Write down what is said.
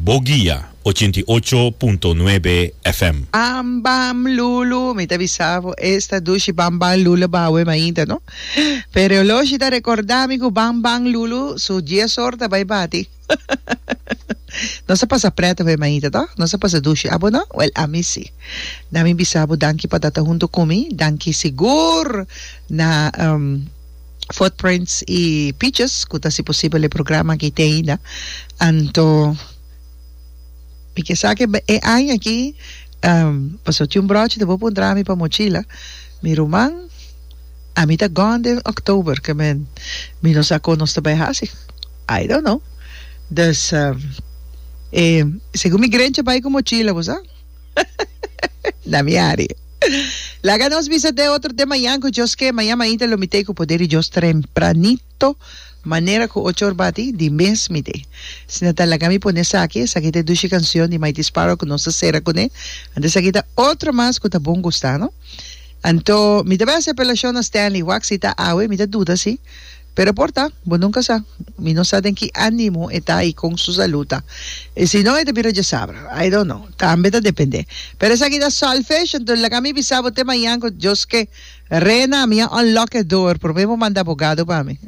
Bo Guia 88.9 FM. Bam bam lulu, mi ta bisa bo esta dushi bam bam lulu bawe mainta no. Pero e oloshi ta recorda mi cu bam bam lulu su dies or ta bay bati. Nos a pasa pret awe mainta to, nos a pasa dushi, abo no? Well ami si. Na mi bisa bo danki pa ta ta hunto cu mi, danki sigur na Footprints y Peaches cu ta haci posibel e programa aki te ainda. Anto mi ke sa ke e aña aki pasobra tin un brochi ta bo puntra mi pa mochila, mi ruman ami ta gone den October ke men mi no sa kon nos ta bay haci I don't know. Dus e segun mi grencha bay cu mochila bo sa. Na mi ari. Laga nos bisa te otro te mañan cu Dios ke. Mañan mainta lo mi tey cu poder di Dios trempranito manera cu ocho or bati di mes mi tey. Asina ta laga mi pone esaki. Esaki ta e dushi cancion di Mighty Sparrow cu nos ta cera cune. Anto esaki ta otro mas cu ta bon gusta no. Anto mi ta bay haci apelacion na Stanley. Wak si ta awe mi ta duda si. Pero por ta, bo nunca sa. Mi no sa den ki animo e ta y con su salud ta. Y si no e ta bira djasabra. I don't know. Tambe ta depende. Pero esaki ta solfish, enton laga mi bisa bo te mañan cu Dios ke. Rena, mi a unlock e door. Prome bo manda abogado pa mi.